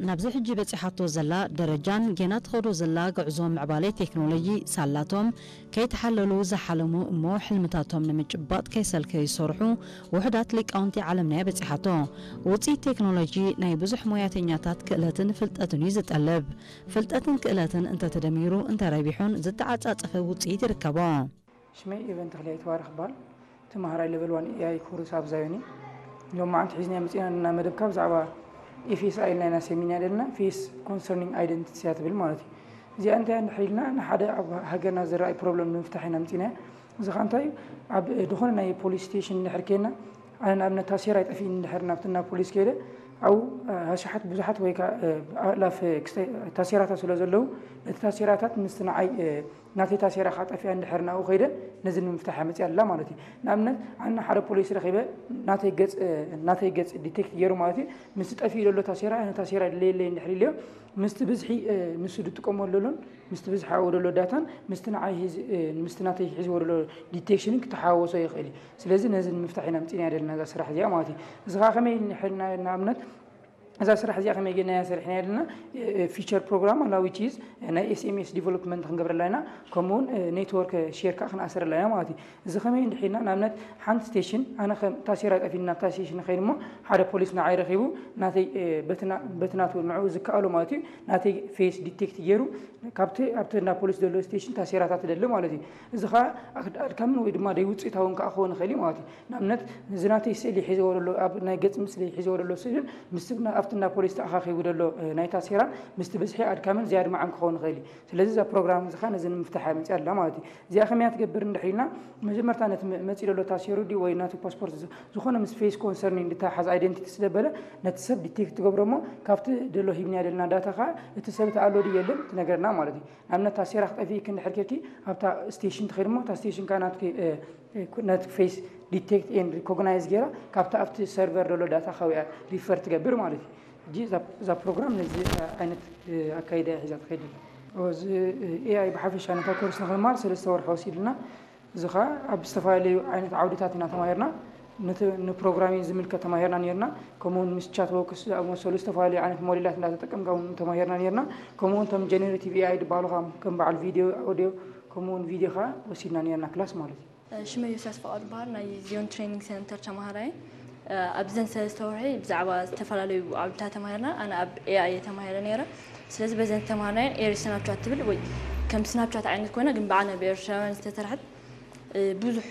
ናብዚ ሕጂ በጺሓቶ ዘላ ደረጃን ጌና ትኸዶ ዘላ ጉዕዞ ምዕባለ ቴክኖሎጂ ሳላቶም ከይተሓለሉ ዝሓለሙ እሞ ሕልምታቶም ንምጭባጥ ከይሰልከዩ ዝሰርሑ ውሑዳት ሊቃውንቲ ዓለምና እያ በጺሓቶ። ውጽኢት ቴክኖሎጂ ናይ ብዙሕ ሞያተኛታት ክእለትን ፍልጠትን እዩ ዝጠልብ። ፍልጠትን ክእለትን እንተተደሚሩ እንተረቢሑን ዝተዓጻጸፈ ውጽኢት ይርከቦ። ሽመይ ኤቨን ተኽልየ ይትባረኽ ይበሃል። ተምሃራይ ሌቨል ዋን ኤኣይ ኮርስ ኣብ ዛዮን እዩ። ሎም መዓንቲ ሒዝና መፂና እና መደብካ ብዛዕባ ኤፍኤስኣይ ኢልና ኢና ሰሚና ዘለና፣ ፌስ ኮንሰርኒንግ ኣይደንቲቲ እያ ትብል ማለት እዩ። እዚኣ እንታይ እንድሕር ኢልና ንሓደ ኣብ ሃገርና ዝረኣይ ፕሮብለም ንምፍታሕ ኢና መፂና። እዚ ኸ እንታይ እዩ? ኣብ ዝኾነ ናይ ፖሊስ ስቴሽን እንድሕር ኬና፣ ኣነ ንኣብነት ታሴራ ይጠፊእኒ እንድሕር ናብቲ ናብ ፖሊስ ከይደ፣ ኣብኡ ኣሽሓት ብዙሓት ወይ ከዓ ኣእላፍ ታሴራታት ስለ ዘለዉ፣ ነቲ ታሴራታት ምስቲ ንዓይ ናተይ ታሴራ ከዓ ጠፊኣ እንድሕር ናብኡ ከይደ ነዚ ንምፍታሕ እያ መፅያ ኣላ ማለት እዩ። ንኣብነት ኣነ ሓደ ፖሊስ ረኺበ ናተይ ገፅ ናተይ ገፅ ዲቴክት ገይሩ ማለት እዩ። ምስቲ ጠፊኡ ዘሎ ታሴራ ኣነ ታሴራ ድለየለይ እንድሕር ኢለዮ ምስቲ ብዝሒ ንሱ ዝጥቀመሉ ዘሎን ምስቲ ብዝሒ ኣብኡ ዘሎ ዳታን ምስቲ ንዓይ ምስቲ ናተይ ሒዝዎ ዘሎ ዲቴክሽንን ክተሓዋወሶ ይኽእል እዩ። ስለዚ ነዚ ንምፍታሕ ኢና ምፂና ዘለና እዛ ስራሕ እዚኣ ማለት እዩ። እዚ ከዓ ከመይ ንኣብነት እዛ ስራሕ እዚኣ ከመይ ጌርና ኢና ሰሪሕና ዘለና? ፊቸር ፕሮግራም ኣላ which is ናይ ኤስኤምኤስ ዲቨሎፕመንት ክንገብረላ ኢና። ከምኡውን ኔትወርክ ሼር ከዓ ክንኣስረላ ኢና ማለት እዩ። እዚ ከመይ እንድሒና ንኣብነት ሓንቲ ስቴሽን ኣነ ከም ታሴራ ጠፊኒ ናብታ ስቴሽን ከይድ እሞ ሓደ ፖሊስ ንዓይ ረኺቡ ናተይ በቲ ናቱ ንዕኡ ዝከኣሎ ማለት እዩ ናተይ ፌስ ዲቴክት ገይሩ ካብቲ ኣብቲ እንዳ ፖሊስ ዘሎ ስቴሽን ታሴራታት ደሊ ማለት እዩ። እዚ ከዓ ኣድካምን ወይ ድማ ደይውፅኢታውን ከዓ ክኸውን ይኽእል እዩ ማለት እዩ። ንኣብነት እዚ ናተይ ስእሊ ሒዝዎ ዘሎ ኣብ ናይ ገፅ ምስሊ ሒዝዎ ዘሎ ስእልን ምስቲ ኣብቲ እንዳ ፖሊስ ተኣኻኺቡ ዘሎ ናይ ታሴራን ምስቲ ብዝሒ ኣድካምን ዝያድ መዓን ክኸውን ይኽእል እዩ። ስለዚ እዛ ፕሮግራም እዚ ከዓ ነዚ ንምፍታሕ እያ መፅያ ኣላ ማለት እዩ። እዚኣ ከመይ እያ ትገብር እንድሕር ኢልና መጀመርታ ነቲ መፂ ዘሎ ታሴሩ ድዩ ወይ ናቱ ፓስፖርት ዝኾነ ምስ ፌስ ኮንሰርኒንግ ዝተሓሓዝ ኣይደንቲቲ ስለ በለ ነቲ ሰብ ዲቴክት ትገብሮ እሞ ካብቲ ደሎ ሂብና ዘለና ዳታ ከዓ እቲ ሰብ ተኣሎ ድዩ የለን ትነግረና ማለት እዩ። ንኣብነት ታሴራ ክጠፊእኪ እንድሕር ኬድኪ ኣብታ ስቴሽን ትኸይድ እሞ እታ ስቴሽን ከዓ ናትኪ ናትኪ ፌስ ዲቴክት ኤንድ ሪኮግናይዝ ገይራ ካብታ ኣብቲ ሰርቨር ዘሎ ዳታ ካውያ ሪፈር ትገብር ማለት እዩ። ሕጂ እዛ ፕሮግራም ነዚ ዓይነት ኣካይዳ እያ ሒዛ ትኸይድ። እዚ ኤኣይ ብሓፈሻ ነታ ኮርስ ንክንማር ሰለስተ ወርሒ ወሲድልና። እዚ ከዓ ኣብ ዝተፈላለዩ ዓይነት ዓውድታት ኢና ተማሂርና። ንፕሮግራሚን ዝምልከት ተማሂርና ነርና። ከምኡውን ምስ ቻት ቦክስ ዝኣመሰሉ ዝተፈላለዩ ዓይነት ሞዴላት እንዳተጠቀምካ እውን ተማሂርና ነርና። ከምኡውን እቶም ጀነሬቲቭ ኤኣይ ዝበሃሉ ከዓ ከም በዓል ቪድዮ፣ ኣውዲዮ ከምኡውን ቪድዮ ከዓ ወሲድና ነርና ክላስ ማለት እዩ። ሽመይ ዮስያስ ፍቓዱ ይበሃል። ናይ ዚዮን ትሬኒንግ ሴንተር ተማሃራይ። ኣብዘን ሰለስተ ወርሒ ብዛዕባ ዝተፈላለዩ ዓውድታት ተማሂርና። ኣነ ኣብ ኤኣይ እየ ተማሂረ ነይረ። ስለዚ በዘን ተማሃርናየን ኤሪ ስናፕቻት ትብል ወይ ከም ስናፕቻት ዓይነት ኮይና ግን ብዓና ብኤርትራውያን ዝተሰርሐት ብዙሕ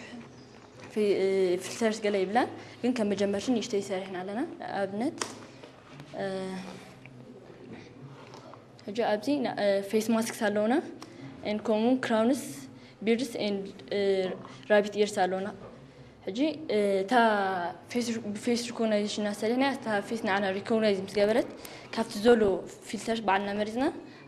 ፊልተርስ ገለ ይብላን ግን ከም መጀመርትን ንእሽተይ ሰሪሕና ኣለና። ኣብነት ሕጂ ኣብዚ ፌስ ማስክስ ኣለውና ን ከምኡ ክራውንስ ቢርድስ ን ራቢት ኢርስ ኣለውና። ሕጂ እታ ብፌስ ሪኮግናይዜሽን እናሰለና እታ ፌስ ንዓና ሪኮግናይዝ ምስ ገበረት ካብቲ ዘሎ ፊልተርስ ባዕልና መሪፅና